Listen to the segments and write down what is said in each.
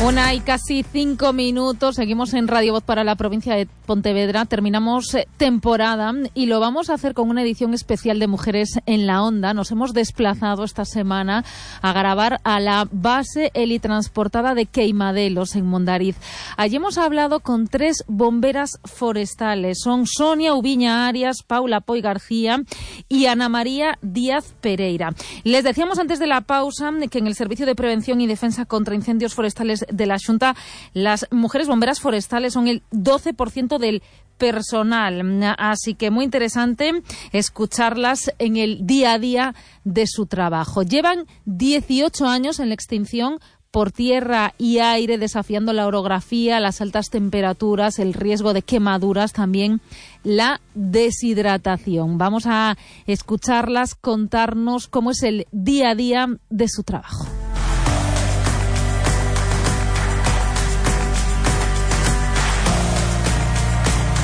Una y casi 5 minutos, seguimos en Radio Voz para la provincia de Pontevedra, terminamos temporada y lo vamos a hacer con una edición especial de Mujeres en la Onda. Nos hemos desplazado esta semana a grabar a la base helitransportada de Queimadelos en Mondariz. Allí hemos hablado con 3 bomberas forestales, son Sonia Ubiña Arias, Paula Poy García y Ana María Díaz Pereira. Les decíamos antes de la pausa que en el Servicio de Prevención y Defensa contra Incendios Forestales de la Xunta, las mujeres bomberas forestales son el 12% del personal, así que muy interesante escucharlas en el día a día de su trabajo. Llevan 18 años en la extinción por tierra y aire, desafiando la orografía, las altas temperaturas, el riesgo de quemaduras, también la deshidratación. Vamos a escucharlas contarnos cómo es el día a día de su trabajo.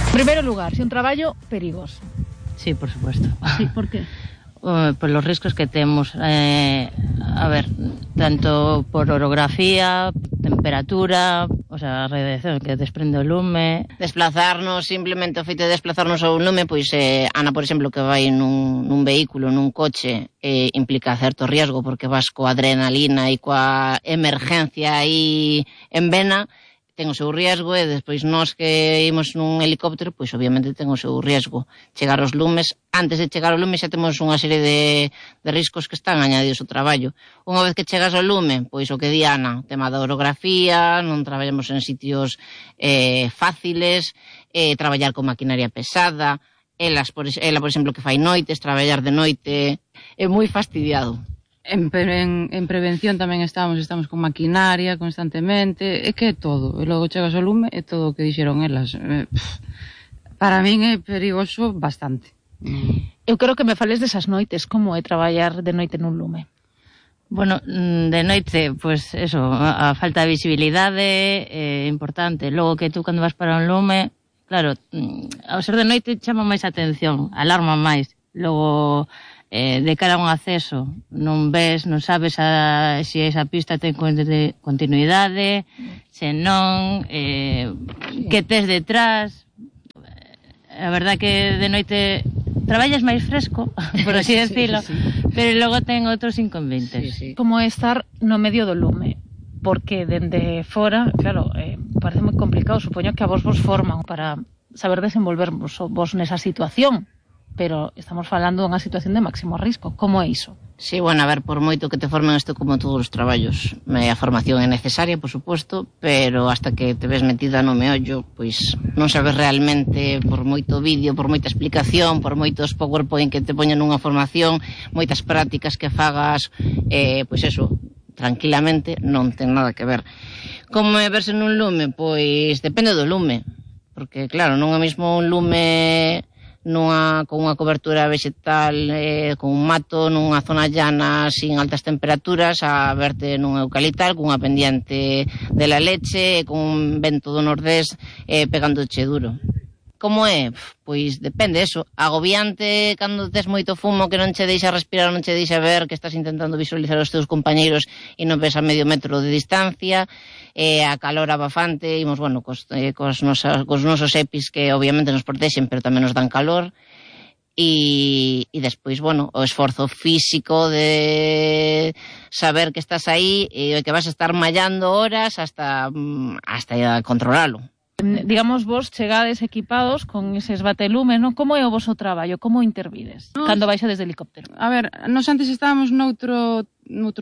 En primer lugar, si un traballo perigoso. Sí, por supuesto. Sí, por qué? Por los riscos que temos, a ver, tanto por orografía, temperatura, o sea, a radiación que desprende o lume. Desplazarnos, simplemente o feito de desplazarnos ao lume, pois Ana, por exemplo, que vai nun vehículo, nun coche, implica certo riesgo porque vas coa adrenalina e coa emergencia aí en vena, ten o seu riesgo, e despois nós que imos nun helicóptero, pois obviamente ten o seu riesgo. Chegar aos lumes, antes de chegar ao lume xa temos unha serie de riscos que están añadidos ao traballo. Unha vez que chegas ao lume, pois o que di Ana, tema da orografía, non traballamos en sitios fáciles, traballar con maquinaria pesada, ela, por exemplo, que fai noites, traballar de noite, é moi fastidiado. En prevención tamén estamos con maquinaria constantemente, é que é todo, e logo chegas ao lume é todo o que dixeron elas. Para min é perigoso bastante. Eu quero que me fales desas noites, como é traballar de noite nun lume. Bueno, de noite, pues eso, a falta de visibilidade é importante. Logo que tú cando vas para un lume, claro, ao ser de noite chama máis atención, alarma máis. Logo, de cara a un acceso, non ves, non sabes se esa pista ten continuidade, se non, que tes detrás. A verdad que de noite traballas máis fresco, por así decirlo, sí. Pero logo ten outros inconvenientes. Sí. Como é estar no medio do lume, porque dende fora, claro, parece moi complicado, supoño que a vos forman para saber desenvolvervos vos nesa situación, pero estamos falando dunha situación de máximo risco. Como é iso? Sí, bueno, a ver, por moito que te formen isto como todos os traballos, a formación é necesaria, por suposto, pero hasta que te ves metida no meollo, pois non sabes realmente, por moito vídeo, por moita explicación, por moitos PowerPoint que te poñen nunha formación, moitas prácticas que fagas, pois eso, tranquilamente non ten nada que ver. Como é verse nun lume? Pois depende do lume, porque claro, non é mesmo un lume con unha cobertura vegetal, con un mato, nunha zona llana sin altas temperaturas, a verte nun eucaliptal, cunha pendiente de la leche, con un vento do nordés pegándoche duro. Como é? Pois depende eso. Agobiante cando tes moito fumo que non che deixa respirar, non che deixa ver, que estás intentando visualizar os teus compañeiros e non ves a medio metro de distancia, a calor abafante, imos, bueno, cos nosos EPIs que obviamente nos protexen, pero tamén nos dan calor, e despois, bueno, o esforzo físico de saber que estás aí e que vas a estar mallando horas hasta controlalo. Digamos, vos chegades equipados con eses batelumes, non? Como é o voso traballo? Como intervides cando baixa desde helicóptero? A ver, nos antes estábamos noutro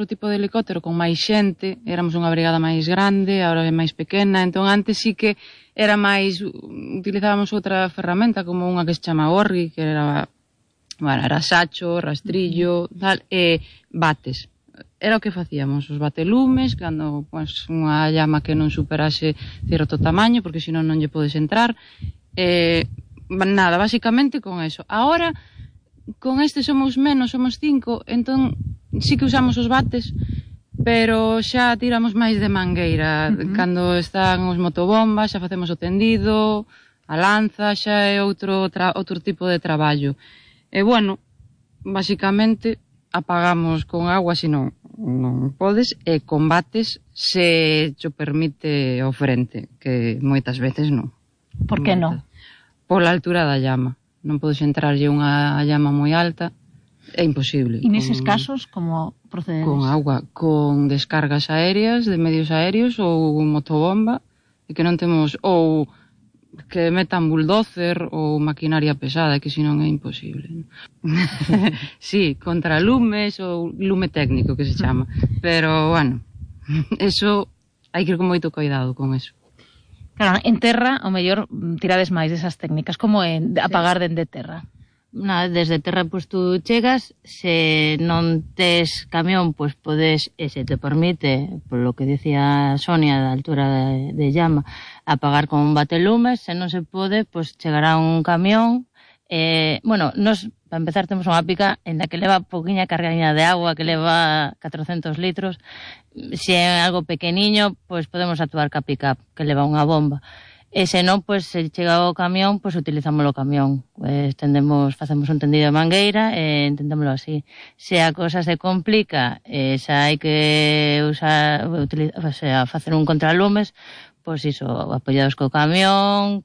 tipo de helicóptero con máis xente, éramos unha brigada máis grande, agora é máis pequena, entón antes sí que era máis, utilizábamos outra ferramenta como unha que se chama orri, que era, bueno, era sacho, rastrillo, tal, e bates. Era o que facíamos, os batelumes, cando pues, unha llama que non superase certo tamaño, porque senón non lle podes entrar. Nada, basicamente con eso. Ahora, con este somos menos, somos 5, entón sí que usamos os bates, pero xa tiramos máis de mangueira. Cando están os motobombas, xa facemos o tendido, a lanza, xa é outro tipo de traballo. E bueno, basicamente apagamos con agua, senón non podes, e combates se te permite o frente, que moitas veces non. Por que non? Pola altura da llama. Non podes entrarlle unha llama moi alta, é imposible. E neses casos, como procedes? Con agua, con descargas aéreas, de medios aéreos, ou motobomba, e que non temos, ou que metan bulldozer ou maquinaria pesada, que senón é imposible. Sí, contra lumes ou lume técnico que se chama, pero bueno, eso hai que ir con moito cuidado con eso. Claro, en terra, ao mellor, tirades máis desas técnicas, como en apagar dende terra. Desde terra, pois tú chegas, se non tes camión, pois podes, e se te permite, por lo que dicía Sonia, da altura de llama, apagar con un batelumes. Se non se pode, pois chegará un camión. Bueno, nos, para empezar, temos unha pica en la que leva poquinha cargaña de agua, que leva 400 litros. Se é algo pequeniño, pois podemos actuar ca pick-up, que leva unha bomba. E se non, pois, se chega o camión, pois utilizamos o camión. Facemos un tendido de mangueira e entendámoslo así. Se a cosa se complica, xa hai que facer un contralumes, pois iso, apoyados co camión,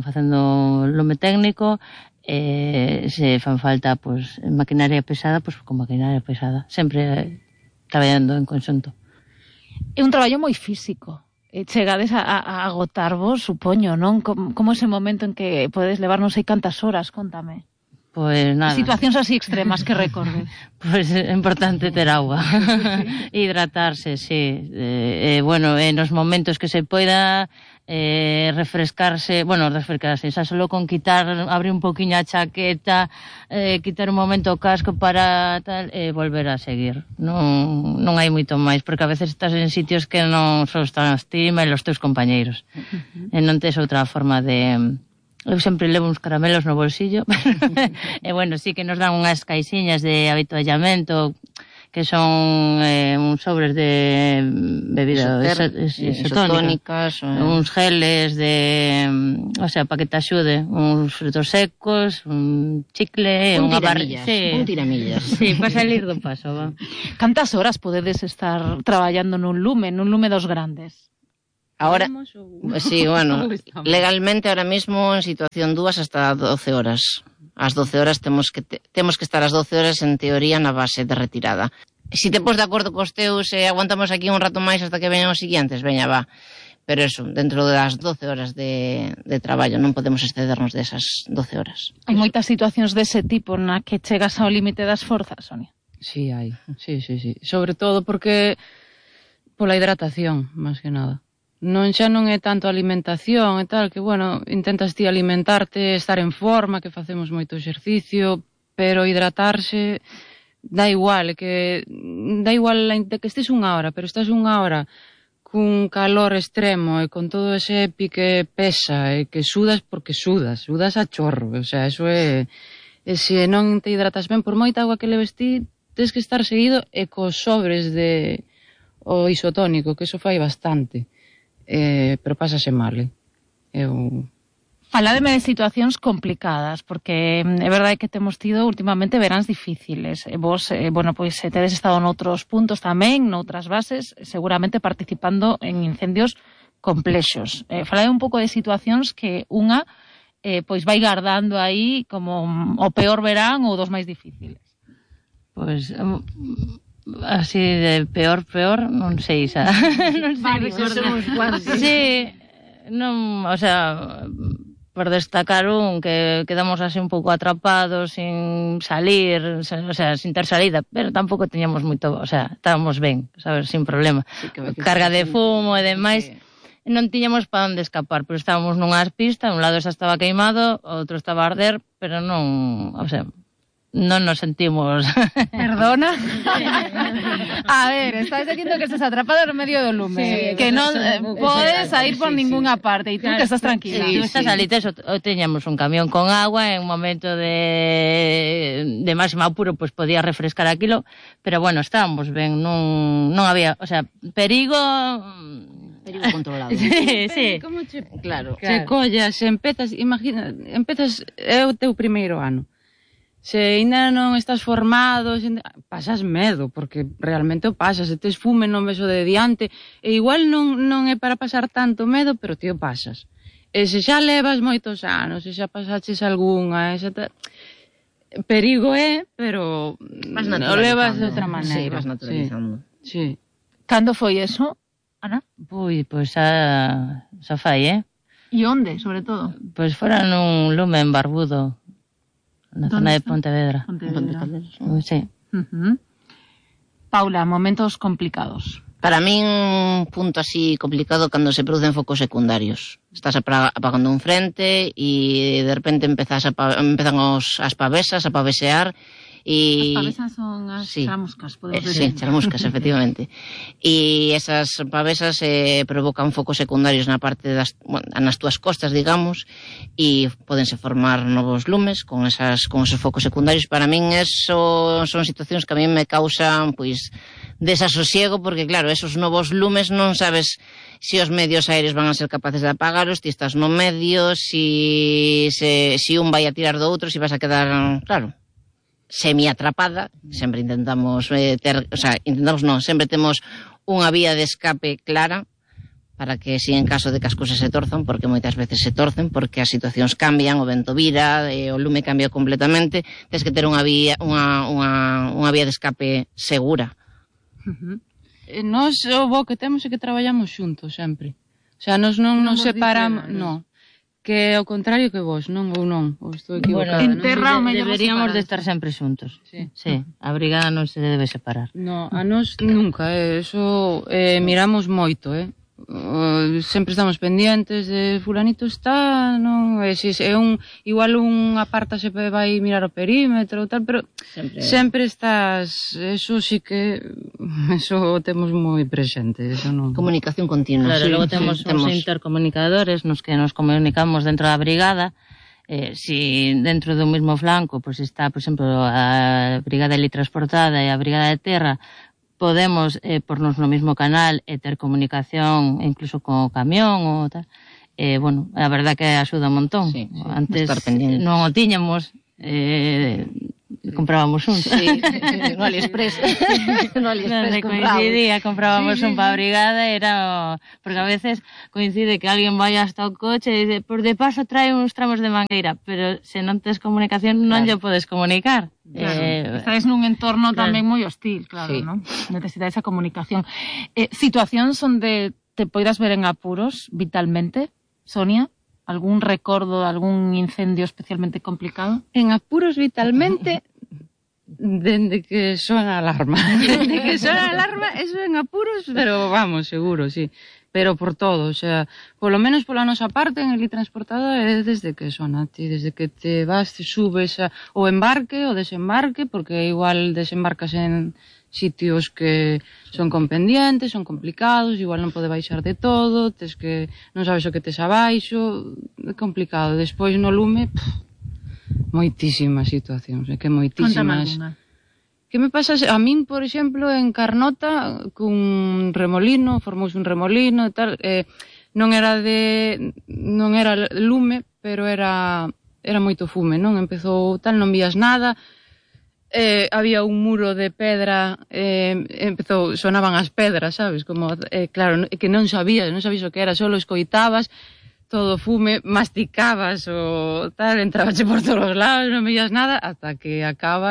facendo lume técnico, se fan falta, pois, maquinaria pesada, pois con maquinaria pesada. Sempre traballando en conxunto. É un traballo moi físico. Chegades a agotarvos, supoño, non? Como ese momento en que podes levar non sei cantas horas, contame. Pois nada. Situacións así extremas que recordes. Pois é importante ter agua. Hidratarse, sí. Bueno, nos momentos que se poida refrescarse, xa solo con abrir un poquinho a chaqueta, quitar un momento o casco para tal, volver a seguir. Non hai moito máis, porque a veces estás en sitios que non só están as ti, mas os teus compañeiros. E non tes outra forma de... Eu sempre levo uns caramelos no bolsillo. E bueno, sí que nos dan unhas caixiñas de habituallamento, que son uns sobres de bebida isotónicas, uns geles o sea, para que te axude, uns frutos secos, un chicle, unha barra... Un tiramillas. Sí, para salir do paso, va. Cantas horas podedes estar traballando nun lume dos grandes? Ahora, sí, bueno, legalmente ahora mismo en situación 2 hasta 12 horas. As 12 horas temos que estar as 12 horas en teoría na base de retirada. Si te pos de acordo cos teus e aguantamos aquí un rato máis hasta que veñan os siguientes, veña, va. Pero eso, dentro das 12 horas de traballo non podemos excedernos desas 12 horas. Hai moitas situacións dese tipo na que chegas ao límite das forzas, Sonia? Sí, hai. Sí. Sobre todo porque pola hidratación, máis que nada. Xa non é tanto alimentación e tal, que, bueno, intentas ti alimentarte, estar en forma, que facemos moito exercicio, pero hidratarse dá igual, de que estés unha hora, pero estás unha hora cun calor extremo e con todo ese pique pesa e que sudas porque sudas a chorro, o sea, eso é... E se non te hidratas ben, por moita agua que leves ti, tens que estar seguido e cos sobres de o isotónico, que eso fai bastante. Pero pásase mal, Faládeme de situacións complicadas, porque é verdade que temos tido últimamente veráns difíciles. Vos, pois tedes estado noutros puntos tamén, noutras bases, seguramente participando en incendios complexos. Falade un pouco de situacións que unha pois vai gardando aí como o peor verán ou dos máis difíciles. Pois... así de peor, non sei xa. Non sei. Sí, non, o sea, por destacar un que quedamos así un pouco atrapados sin salir, o sea, sin ter salida, pero tampouco teñamos moito, o sea, estábamos ben, sabes, sin problema. Sí, carga de fumo e demais. Sí. Non tiñamos para onde escapar, pero estábamos nunhas pistas, un lado xa estaba queimado, outro estaba a arder, pero non, o sea, non nos sentimos... Perdona? A ver, estás dicindo que estás atrapado no medio do lume, sí, que non podes sair por ninguna parte, e tú que estás tranquila. Sí, tú estás ali, teñamos un camión con agua, en un momento de máximo apuro, pois podía refrescar aquilo, pero bueno, estábamos ben, non había, o sea, perigo controlado. Sí. Claro. Se collas, empezas, imagina, é o teu primeiro ano. Se ainda non estás formado, pasas medo, porque realmente o pasas, se tes fume non ves o de diante, e igual non é para pasar tanto medo, pero ti o pasas. E se xa levas moitos anos, se xa pasaches algunha, perigo é, pero o levas de outra maneira. Sí, vas naturalizando. Sí. Cando foi eso, Ana? Pois xa fai, E onde, sobre todo? Pois fora nun lume en Barbudo, na zona de está? Pontevedra. Pontevedra. Sí. Paula, momentos complicados. Para min, un punto así complicado cando se producen focos secundarios. Estás apagando un frente e de repente empezan as pavesas a pavesear. As pavesas son as chamuscas, podemos decir. Sí, chamuscas, efectivamente. E esas pavesas provocan focos secundarios nas túas costas, digamos, e podense formar novos lumes con esos focos secundarios. Para min eso son situacións que a min me causan, pois, desasosiego, porque claro, esos novos lumes non sabes se os medios aéreos van a ser capaces de apagaros, ti estás no medio, se un vai a tirar do outro, se vas a quedar, claro, semi-atrapada. Sempre sempre temos unha vía de escape clara para que, si en caso de que as cousas se torzan, porque moitas veces se torcen, porque as situacións cambian, o vento vira, o lume cambia completamente, tens que ter unha vía de escape segura. Nos o bo que temos é que traballamos xuntos sempre. O sea, nos non nos separamos, non. Que ao contrario que vos, non ou non, ou estou equivocada. En terra deberíamos de estar sempre xuntos. Sí, a brigada non se debe separar. No, a nos nunca, eso miramos moito, sempre estamos pendientes de fulanito está, non, igual un aparta se vai mirar o perímetro ou tal, pero sempre estás, eso sí que eso temos moi presente, eso non. Comunicación continua. Claro, logo temos uns intercomunicadores nos que nos comunicamos dentro da brigada. Si dentro do mesmo flanco pues está, por exemplo, a brigada eletransportada e a brigada de terra, podemos pornos no mesmo canal e ter comunicación incluso co camión ou tal. Bueno, a verdad que axuda un montón. Sí, antes non o tiñamos, comprábamos un. Sí, no AliExpress. No AliExpress comprábamos un para a brigada, porque a veces coincide que alguén vai hasta o coche e dice, por de paso trae uns tramos de mangueira, pero se non tes comunicación non lle podes comunicar. Claro, estáis nun entorno tamén moi hostil, claro, sí. ¿No? Necesitáis esa comunicación. Situacións onde te poidas ver en apuros vitalmente, Sonia? Algún recordo, algún incendio especialmente complicado? En apuros vitalmente, dende que sona a alarma. Dende que sona a alarma, eso en apuros, pero vamos, seguro, sí. Pero por todo, o sea, polo menos pola nosa parte en el transportada é desde que sona, ti, desde que te vas, te subes o embarque ou desembarque, porque igual desembarcas en sitios que son con pendientes, son complicados, igual non pode baixar de todo, non sabes o que tes abaixo, é complicado. Despois no lume, moitísimas situacións, que moitísimas. Que me pasa a min, por exemplo, en Carnota, cun remolino, formouse un remolino e tal, non era lume, pero era moito fume, non? Empezou tal, non vías nada, había un muro de pedra, sonaban as pedras, sabes? Como, claro, que non sabías o que era, só escoitabas, todo fume, masticabas o tal, entrabache por todos os lados, non veías nada, hasta que acaba